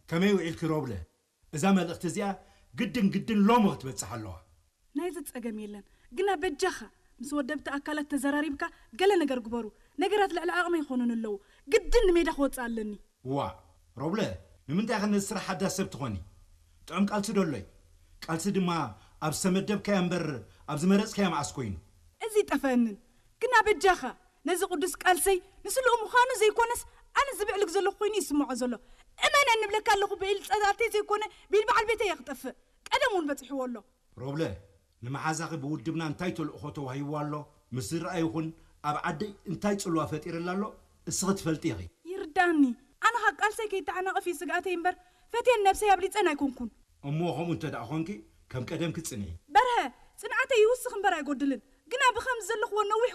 ከመይ ውዒልኪ ሮብለ? እዛ መልእኽቲ እዚኣ ግድን ግድን ሎሚ ክትበጽሕ ኣለዋ። ናይዚ ጸገም የለን። ግና በጃኻ ምስ ወደብቲ ኣካላት ተዘራሪብካ ገለ ነገር ግበሩ። ነገራት ልዕሊ ዓቕመይ ይኾኑን ኣለዉ። ግድን ንሜዳ ክወጽእ ኣለኒ። ዋ ሮብለ፣ ንምንታይ ከ ነዚ ስራሕ ሓዳስ ሰብ ትኾኒ? ጥዑም ቃልሲ ዶ ኣሎይ? ቃልሲ ድማ ኣብ ዝተመደብካያ እምበር ኣብ ዝመረጽካያ መዓስ ኮይኑ? እዚ ጠፈአንን። ግና በጃኻ ነዚ ቅዱስ ቃልሰይ ንስልኡ ምዃኑ ዘይኮነስ ኣነ ዝብዕልግ ዘለኹ ኮይኑ ይስምዖ ዘሎ። እመነኒ እብለካ ኣለኹ ብኢል ጸላእተይ ዘይኮነ ብኢል በዓል ቤተይ እየ ክጠፍእ። ቀደም እውን በጺሕዎ ኣሎ። ሮብለ፣ ንመሓዛኺ ብውድብና እንታይ ተልእኾ ተዋሂብዋ ኣሎ? ምስ ዝረኣ ይኹን ኣብ ዓደይ እንታይ ጽልዋ ፈጢርላ ኣሎ እስኺ ትፈልጢ ኢኺ። ይርዳኒ። ኣነ ካብ ቃልሰይ ከይተዓናቕፍ እዩ ስግኣተይ እምበር ፈትየን ነብሰይ ኣብሊጸን ኣይኮንኩን። እሞ ከምኡ እንተ ደኣ ኾንኪ ከም ቀደምኪ ጽንዒ። በርሀ፣ ጽንዓተይ ይውስኽ እምበር ኣይጎድልን። ግና ብኸምዚ ዘለኽዎ ነዊሕ